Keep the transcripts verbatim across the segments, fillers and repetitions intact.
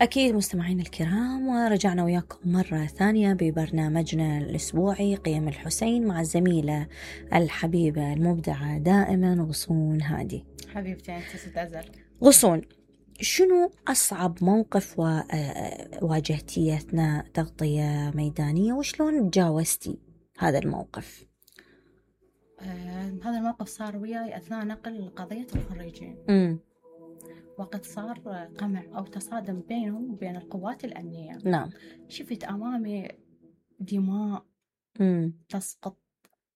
أكيد مستمعين الكرام، ورجعنا وياكم مرة ثانية ببرنامجنا الأسبوعي قيم الحسين مع الزميلة الحبيبة المبدعة دائما غصون هادي. حبيبتي أنت ستأزل. غصون، شنو أصعب موقف واجهتي أثناء تغطية ميدانية وشلون تجاوزتي هذا الموقف؟ آه، هذا الموقف صار وياي أثناء نقل قضية الخريجين. م. وقت صار قمع أو تصادم بينهم وبين القوات الأمنية. نعم. شفت أمامي دماء م. تسقط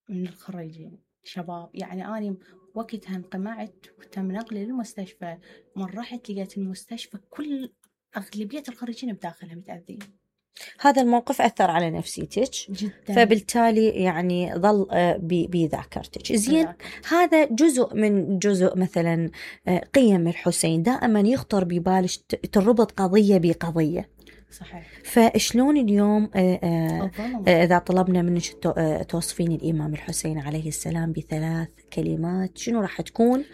من الخريجين شباب، يعني أنا وقتها انقمعت وتم نقلي للمستشفى. من رحت لقيت المستشفى كل أغلبية الخريجين بداخلها متأذين. هذا الموقف أثر على نفسيتك جدا، فبالتالي يعني ظل بذاكرتك. زين، هذا جزء من جزء مثلا قيم الحسين، دائما يخطر ببالك تربط قضية بقضية. صحيح. فشلون اليوم إذا طلبنا منك توصفين الإمام الحسين عليه السلام بثلاث كلمات، شنو راح تكون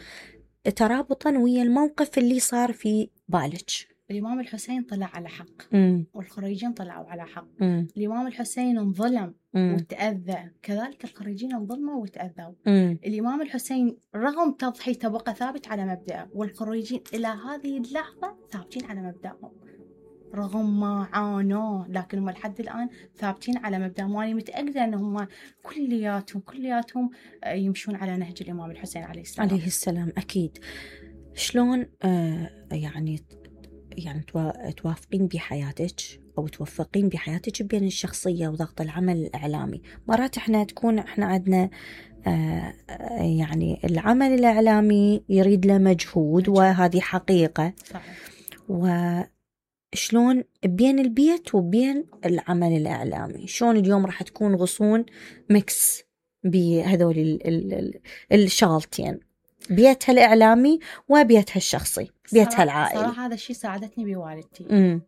ترابطا ويا الموقف اللي صار في بالك؟ الإمام الحسين طلع على حق، م. والخريجين طلعوا على حق. م. الإمام الحسين انظلم م. وتأذى، كذلك الخريجين انظلموا وتأذوا. م. الإمام الحسين رغم تضحيته بقى ثابت على مبدأه، والخريجين إلى هذه اللحظة ثابتين على مبدأهم رغم ما عانوا، لكن هم لحد الآن ثابتين على مبدأهم. وأنا متأكدة أنهم كلياتهم كلياتهم يمشون على نهج الإمام الحسين عليه السلام. عليه السلام أكيد. شلون آه يعني يعني توافقين بحياتك أو توفقين بحياتك بين الشخصية وضغط العمل الإعلامي؟ مرات إحنا تكون إحنا عندنا آه يعني العمل الإعلامي يريد له مجهود، وهذه حقيقة. صحيح. وشلون بين البيت وبين العمل الإعلامي، شلون اليوم راح تكون غصون ميكس بهذول الشغلتين، بيتها الإعلامي وبيتها الشخصي، بيتها العائلي؟ صراحة هذا الشيء ساعدتني بوالدتي. امم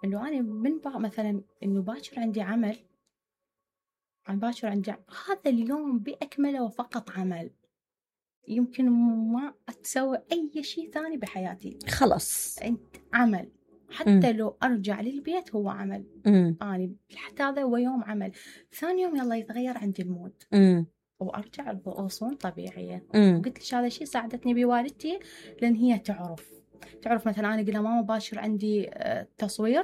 إنه أنا من بقى مثلا إنه باكر عندي عمل، أنا باكر عندي عمل. هذا اليوم بأكمله وفقط عمل، يمكن ما أتسوي أي شيء ثاني بحياتي. خلاص أنت عمل، حتى مم. لو أرجع للبيت هو عمل. امم أنا حتى هذا هو يوم عمل. ثاني يوم يلا يتغير عندي المود امم وأرجع بغصون طبيعية. امم قلت لك هذا الشيء ساعدتني بوالدتي، لأن هي تعرف تعرف مثلا أنا قلنا ماما باشر عندي تصوير،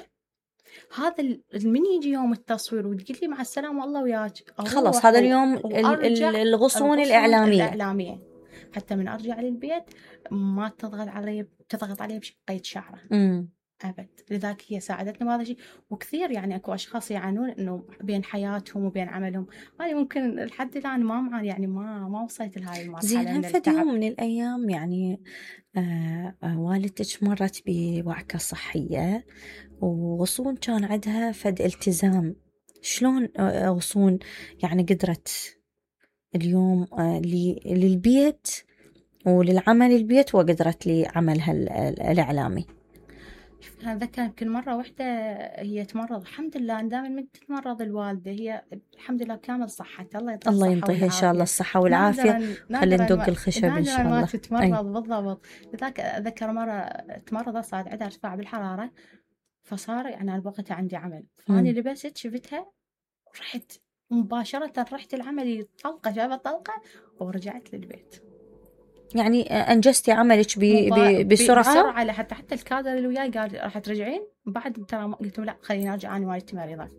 هذا من يجي يوم التصوير وتقول لي مع السلامة الله وياك، خلاص هذا اليوم الغصون الإعلامية. الإعلامية حتى من أرجع للبيت ما تضغط علي تضغط علي بقية شعره امم أبد. لذلك هي ساعدتني بهذا الشيء. وكثير يعني أكو أشخاص يعانون إنه بين حياتهم وبين عملهم. أنا ممكن لحد الآن ما معاني، يعني ما ما وصلت لهاي المرحلة. زين، هم فد يوم من الأيام يعني آه آه والدتك مرت بوعكة صحية وغصون كان عندها فد التزام، شلون آه غصون يعني قدرت اليوم آه للبيت وللعمل البيت وقدرت لعملها الإعلامي؟ أنا أتذكر يمكن مرة واحدة هي تمرض، الحمد لله دائما من تتمرض الوالدة هي الحمد لله كامل صحتها، الله يعطيها الله ينطيها إن شاء الله الصحة والعافية. خلينا ندق الخشب إن شاء الله. ما تتمرض بالضبط. لذلك أتذكر مرة تمرض صار عندها ارتفاع بالحرارة، فصار يعني أنا وقتها عندي عمل، فأنا لبست شفتها ورحت مباشرة رحت العمل طلقة جابت طلقة ورجعت للبيت. يعني أنجزتي عملك بسرعة بسرعة لحتى حتى الكادر اللي وياي قال راح ترجعين بعد، ترى قلت لا خليني أرجع أنا والدتي مريضة.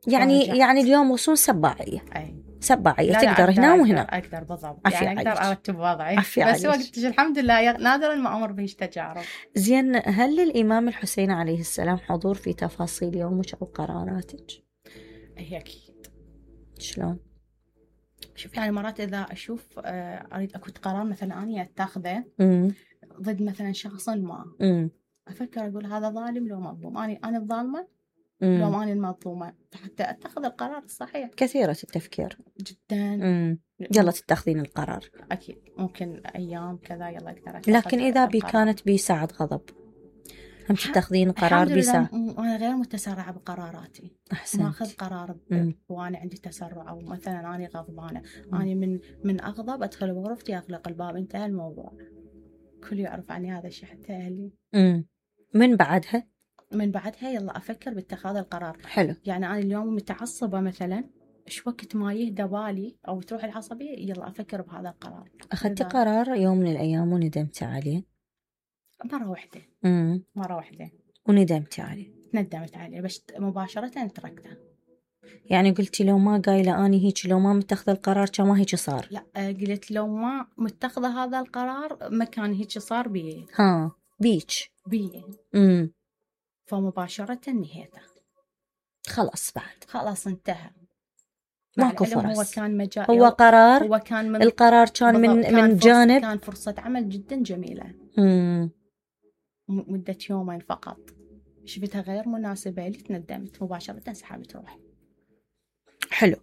يعني ورجعت. يعني اليوم وصول سباعية. أي سباعية تقدر هنا وهنا. أقدر بالضبط، يعني أقدر أرتب وضعي. بس وقتش الحمد لله نادرا ما أمر بهش تجارب. زين، هل للإمام الحسين عليه السلام حضور في تفاصيل يومك أو قراراتك؟ هي أكيد. شلون؟ شوف يعني مرات إذا أشوف أريد أكو قرار مثلا أنا أتخذه ضد مثلا شخص ما، مم. أفكر أقول هذا ظالم لو مظلوم، أنا أنا الظالمة لو أنا المظلومة، حتى أتخذ القرار الصحيح. كثيرة التفكير جدا. مم. يلا تتخذين القرار. أكيد ممكن أيام كذا يلا أقدر. لكن إذا بي كانت بساعة غضب هم تتخذين قرار بساعة؟ أنا غير متسرعة بقراراتي. أحسنت. ما أخذ قرار وأنا عندي تسرع، أو مثلا أنا غضبانة أنا من من أغضب أدخل بغرفتي أغلق الباب انتهى الموضوع. كل يعرف عني هذا الشيء حتى أهلي. مم. من بعدها من بعدها يلا أفكر باتخاذ القرار. حلو. يعني أنا اليوم متعصبة مثلا، إيش وقت ما يهدى بالي أو تروح العصبية يلا أفكر بهذا القرار. أخذتي قرار يوم من الأيام وندمتي عليه؟ مرة واحدة. امم مرة واحدة. وندمتي عليه؟ ندمت عليه بس مباشرة تركته. يعني قلتي لو ما قايلة أني هيك، لو ما متخذ القرار كان ما هيك صار؟ لا قلت لو ما متخذة هذا القرار ما كان هيك صار بيه. ها بيش بيه. امم فمباشرة نهيته. خلاص بعد خلاص انتهى. ماكو فرص. هو كان مجال، هو قرار، هو كان من القرار كان من كان من جانب، كان فرصة عمل جدا جميلة. امم مدة يومين فقط شفتها غير مناسبة لي، تندمت مباشرة سحبت روحي. حلو.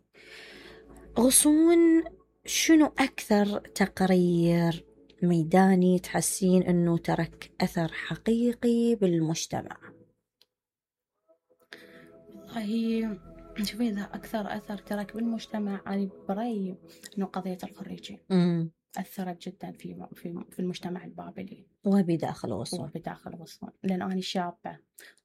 غصون، شنو أكثر تقرير ميداني تحسين أنه ترك أثر حقيقي بالمجتمع؟ والله شوفي إذا أكثر أثر ترك بالمجتمع أنا برأيي إنه قضية الخريجين امم أثرت جدا في في في المجتمع البابلي وبداخل غصون. وبداخل غصون لأن أنا شابة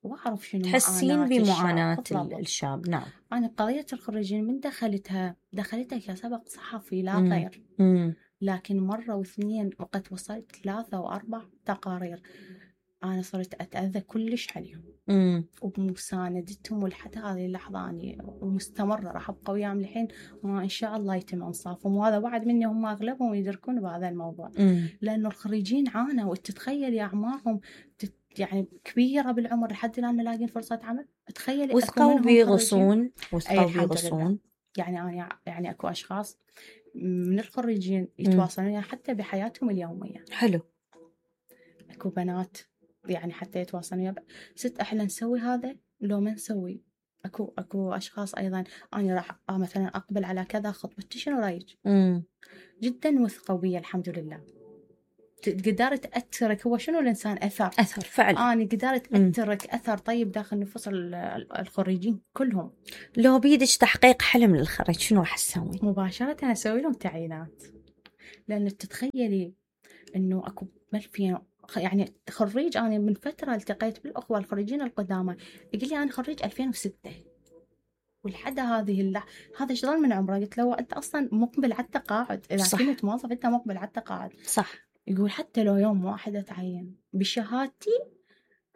وأعرف شنو تحسين بمعاناة الشاب. نعم. أنا قضية الخريجين من دخلتها دخلتها كسبق صحفي لا مم. غير. مم. لكن مرة واثنين وقت وصلت ثلاثة وأربع تقارير أنا صرت أتأذى كلش عليهم. مم. وبمساندتهم ولحد هذه اللحظة أنا ومستمرة راح أبقى وياهم الحين وإن شاء الله يتم إنصافهم. وهذا وعد مني، هم أغلبهم يدركون بهذا الموضوع. مم. لأنه الخريجين عانوا وتتخيل أعمارهم يعني كبيرة بالعمر لحد الآن لاقين فرصة عمل. تخيل وثقوا بغصون، وثقوا بغصون. يعني أنا يعني أكو أشخاص من الخريجين يتواصلون حتى بحياتهم اليومية. حلو. أكو بنات يعني حتى يتواصلون ست احنا نسوي هذا لو ما نسوي. اكو اكو اشخاص ايضا انا راح مثلا اقبل على كذا خطبتي شنو رايك؟ جدا وثقوا بي الحمد لله. قدرت اترك، هو شنو الانسان اثر اثر فعلا. انا قدرت اترك اثر طيب داخل نفوس الخريجين كلهم. لو بيدك تحقيق حلم للخريج شنو راح تسوي؟ مباشره اسوي لهم تعيينات. لان تتخيلي انه اكو ملفين يعني خريج. أنا من فترة التقيت بالأخوة الخريجين القدامى يقول لي أنا خريج ألفين وستة ولحد هذه اللحظة هذا ايش ظل من عمره؟ قلت له أنت أصلا مقبل على التقاعد، إذا صح. كنت موظف أنت مقبل على التقاعد. صح. يقول حتى لو يوم واحد أتعين بشهادتي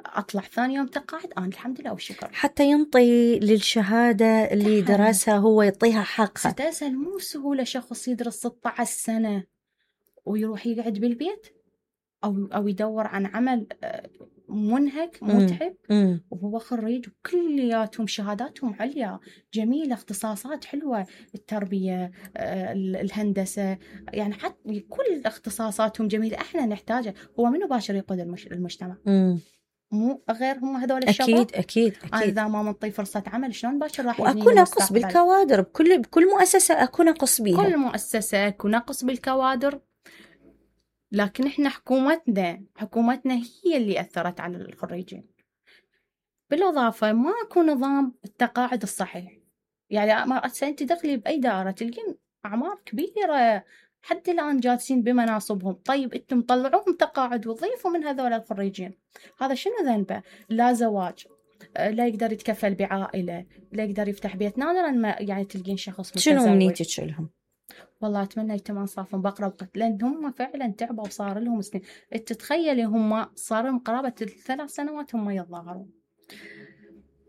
أطلع ثاني يوم تقاعد أنا الحمد لله والشكر. حتى ينطي للشهادة اللي درسها هو يعطيها حقها. ستسأل مو سهولة شخص يدرس ستة عشر سنة ويروح يقعد بالبيت أو أو يدور عن عمل منهك متعب مم. وهو خريج وكلياتهم شهاداتهم عليا جميلة، اختصاصات حلوة، التربية، الهندسة، يعني حتى كل اختصاصاتهم جميلة احنا نحتاجها. هو منو باشر يقود المجتمع؟ مم. مو غير هم هذول الشباب. أكيد أكيد أكيد. أنا إذا ما منطي فرصة عمل شلون باشر راح يبني المستقبل؟ وأكو نقص بالكوادر بكل بكل مؤسسة، أكو نقص بيها. كل مؤسسة أكو نقص بالكوادر. لكن إحنا حكومتنا حكومتنا هي اللي أثرت على الخريجين. بالإضافة ماكو نظام التقاعد الصحيح. يعني ما أنت دخلي بأي دائرة تلقين أعمار كبيرة حتى الآن جالسين بمناصبهم. طيب أنتم طلعوهم تقاعد وضيفوا من هذول الخريجين. هذا شنو ذنبه؟ لا زواج، لا يقدر يتكفل بعائلة، لا يقدر يفتح بيت. نادرا ما يعني تلقين شخص متزوج. شنو أمنيتك لهم؟ والله أتمنى يتم إنصافهم بقرب وقت، لأن هم فعلا تعبوا وصار لهم سنين. تتخيلي هم صار لهم قرابة الثلاث سنوات هم يتظاهرون.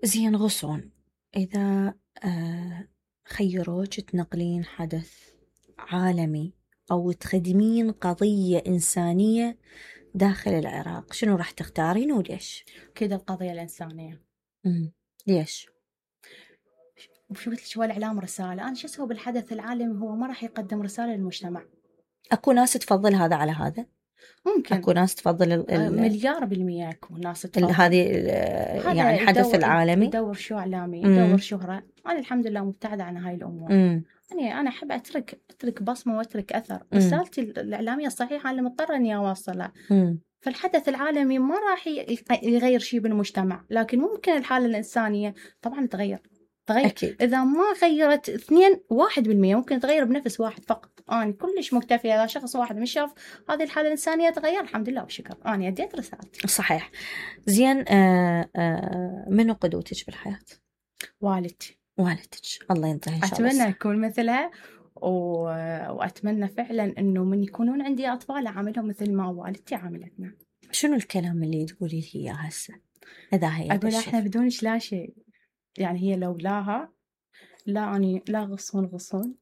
زين غصون، إذا آه خيروك تنقلين حدث عالمي أو تخدمين قضية إنسانية داخل العراق شنو راح تختارين وليش؟ كذا القضية الإنسانية. امم ليش؟ وشو قلت لك هو الإعلام رسالة. أنا شو أسوي بالحدث العالمي هو ما راح يقدم رسالة للمجتمع. أكو ناس تفضل هذا على هذا؟ ممكن. أكو ناس تفضل ال ال مليار بالمية أكو ناس تفضل هذه يعني الحدث العالمي يدور شو إعلامي يدور شهرة. أنا الحمد لله مبتعدة عن هاي الأمور. مم. يعني أنا أحب أترك أترك بصمة وأترك أثر. رسالتي الإعلامية الصحيحة اللي مضطرة إني أوصلها. فالحدث العالمي ما راح يغير شيء بالمجتمع، لكن ممكن الحالة الإنسانية طبعا تغير تغير. أكيد. إذا ما غيرت اثنين واحد بالمية ممكن تغير بنفس واحد فقط. أنا كلش مكتفية. إذا شخص واحد مش شاف هذه الحالة الإنسانية تغير، الحمد لله والشكر، أنا أديت رسالتي. صحيح. زين، آه آه منو قدوتك بالحياة؟ والدتي. والدتك، الله ينطيها إن شاء الله. أتمنى أكون مثلها، و... وأتمنى فعلا إنه من يكونون عندي أطفال أعاملهم مثل ما والدتي عاملتنا. شنو الكلام اللي تقولي لي إياه هسه إذا هي أقول إحنا بدونش لا شيء، يعني هي لولاها لا أني لا غصون غصون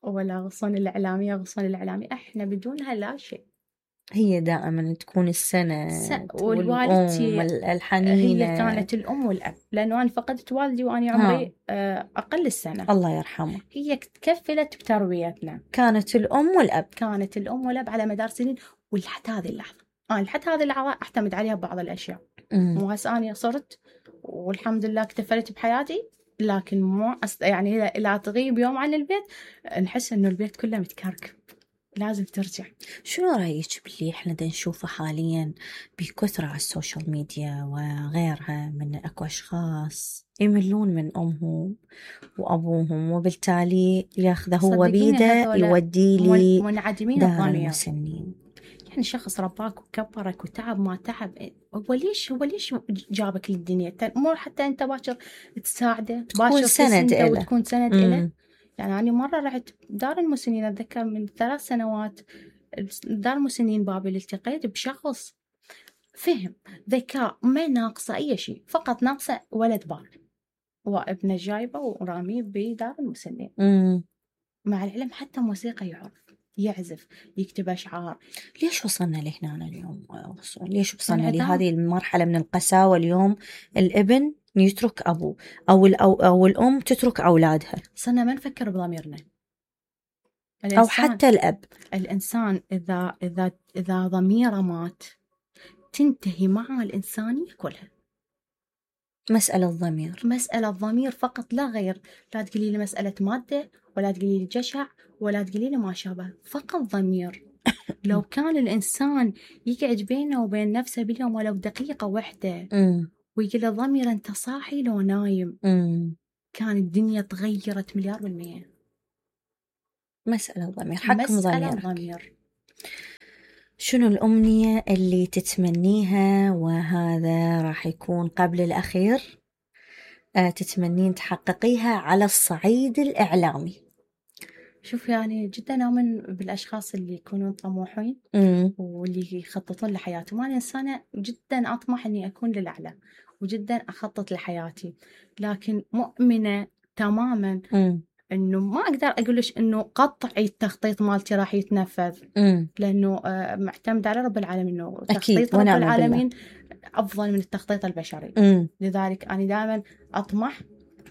ولا غصون الإعلامية غصون الإعلامي، إحنا بدونها لا شيء. هي دائما تكون السنة س- والأم والوالدتي الحنينة. هي كانت الأم والأب، لأنه أنا فقدت والدي وأنا عمري آه، أقل السنة. الله يرحمه. هي تكفلت بتربيتنا، كانت الأم والأب. كانت الأم والأب على مدار سنين، ولحد هذه اللحظة أنا لحد هذه اللحظة أعتمد عليها ببعض الأشياء. مو هسه أنا صرت والحمد لله اكتفلت بحياتي، لكن مو أست... يعني لا تغيب يوم عن البيت نحس إنه البيت كله متكركب، لازم ترجع. شنو رأيك باللي إحنا دا نشوفه حاليا بكثرة على السوشيال ميديا وغيرها، من أكو أشخاص يملون من أمهم وأبوهم وبالتالي ياخذه هو بيده يودي لي منعدمين دار الضمير. المسنين. يعني شخص رباك وكبرك وتعب ما تعب، هو ليش هو ليش جابك للدنيا؟ مو حتى أنت باكر تساعده، باكر سند إله وتكون سند إله. مم. يعني أنا مرة رحت دار المسنين، أتذكر من ثلاث سنوات دار المسنين بابل، التقيت بشخص فهم ذكاء ما ناقصه أي شيء، فقط ناقصه ولد بار، وابنه جايبه وراميه بدار المسنين. مم. مع العلم حتى موسيقى يعرف، يعزف، يكتب أشعار. ليش وصلنا لهنا اليوم؟ ليش وصلنا لهذه المرحلة من القساوة اليوم؟ الابن يترك أبوه أو, أو, أو الأم تترك أولادها، صرنا ما نفكر بضميرنا. أو حتى الأب. الإنسان إذا إذا إذا ضميره مات تنتهي معه الإنسانية كلها. مسألة ضمير، مسألة ضمير فقط لا غير. لا تقولي لي مسألة مادة، ولا تقولي لي جشع، ولا تقولي لي ما شابه، فقط ضمير. لو كان الإنسان يقعد بينه وبين نفسه باليوم ولو دقيقة واحدة ويقول له ضمير أنت صاحي لو نايم، مم. كان الدنيا تغيرت مليار بالمية. مسألة ضمير، حكم مسألة ضميرك. ضمير. شنو الأمنية اللي تتمنيها، وهذا راح يكون قبل الأخير، أه تتمنين تحققيها على الصعيد الإعلامي؟ شوف يعني جدا أؤمن بالأشخاص اللي يكونون طموحين مم. واللي يخططون لحياتهم. أنا إنسانة جدا أطمح أني أكون للأعلى وجدا أخطط لحياتي، لكن مؤمنة تماما مم. إنه ما أقدر أقولش إنه قطعي التخطيط مالتي راح يتنفذ، مم. لأنه آه، معتمد على رب العالمين، إنه تخطيط رب العالمين أفضل من التخطيط البشري. مم. لذلك أنا دائما أطمح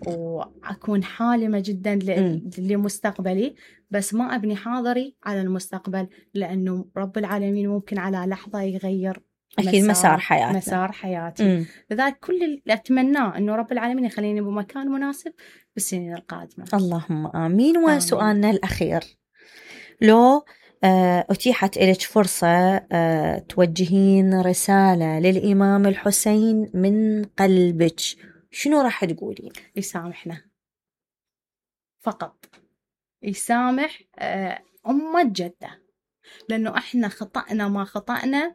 وأكون حالمة جدا ل- لمستقبلي، بس ما أبني حاضري على المستقبل، لأنه رب العالمين ممكن على لحظة يغير أكيد مسار حياتنا، مسار حياتي. مم. لذلك كل اللي أتمناه إنه رب العالمين يخليني بمكان مناسب بالسنين القادمة. اللهم آمين. وسؤالنا الأخير، لو أتيحت لك فرصة توجهين رسالة للإمام الحسين من قلبك، شنو راح تقولين؟ يسامحنا فقط، يسامح أمة جدة، لأنه إحنا خطأنا ما خطأنا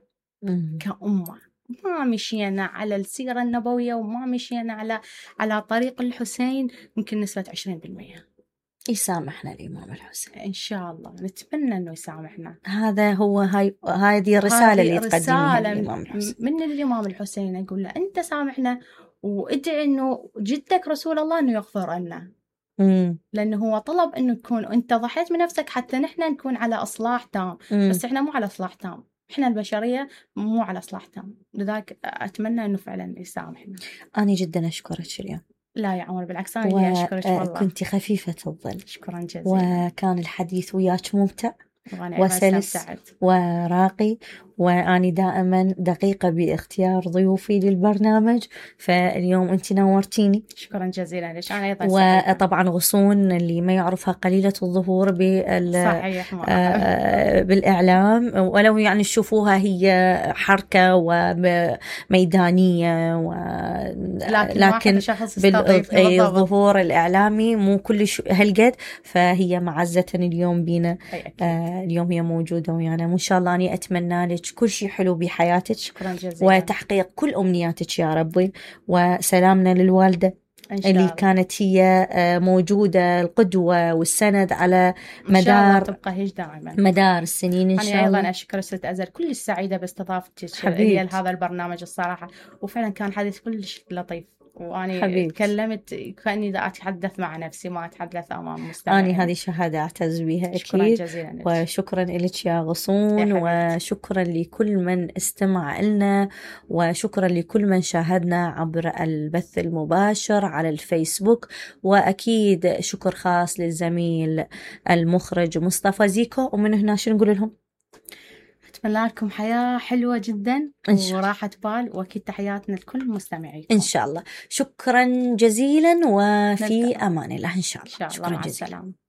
كأمة، ما مشينا على السيرة النبوية وما مشينا على على طريق الحسين، يمكن نسبة عشرين بالمية. يسامحنا الإمام الحسين إن شاء الله، نتمنى إنه يسامحنا. هذا هو هاي هذه الرسالة اللي تقدميها للإمام الحسين. من الإمام الحسين أقول له أنت سامحنا، وادعي إنه جدك رسول الله إنه يغفر لنا، لأنه هو طلب إنه تكون أنت ضحيت من نفسك حتى نحن نكون على إصلاح تام، مم. بس إحنا مو على إصلاح تام، إحنا البشرية مو على إصلاح تام. لذلك أتمنى إنه فعلا يسامحنا. أنا جدا أشكرك اليوم. لا يا عمر، بالعكس أنا اللي أشكرك والله. كنت خفيفة الظل. شكرا جزيلا. وكان الحديث وياك ممتع وسلس وراقي، وأني دائما دقيقة باختيار ضيوفي للبرنامج، فاليوم أنت نورتيني. شكرا جزيلا لك. أنا أيضا سعيدة. وطبعا غصون اللي ما يعرفها قليلة الظهور بال صحيح بالإعلام، ولو يعني تشوفوها هي حركة وميدانية و... لكن, لكن بالظهور الإعلامي مو كل هالقد، فهي معزة اليوم بينا. آه اليوم هي موجودة ويانا، وإن شاء الله أنا أتمنى لك كل شيء حلو بحياتك. شكرا جزيلا. وتحقيق كل أمنياتك يا ربي. وسلامنا للوالدة اللي الله. كانت هي موجودة القدوة والسند على مدار تبقى هيك دائما مدار السنين إن شاء الله. أنا أيضا أشكر ست أزل كل السعيدة باستضافتك لي لهذا البرنامج الصراحة، وفعلا كان حديث كلش لطيف، وأنا حبيبت. تكلمت كأني دا أتحدث مع نفسي ما أتحدث أمام مستمعين. أنا هذه شهادة أعتز بها أكيد. شكرا جزيلا لك. وشكرا لك يا غصون، وشكرا لكل من استمع لنا، وشكرا لكل من شاهدنا عبر البث المباشر على الفيسبوك، وأكيد شكر خاص للزميل المخرج مصطفى زيكو. ومن هنا شو نقول لهم؟ أتمنى لكم حياة حلوة جدا وراحة بال، وأكيد تحياتنا لكل المستمعين إن شاء الله. شكرا جزيلا، وفي أمان الله إن شاء الله. إن شاء الله. شكرا مع جزيلا. السلامة.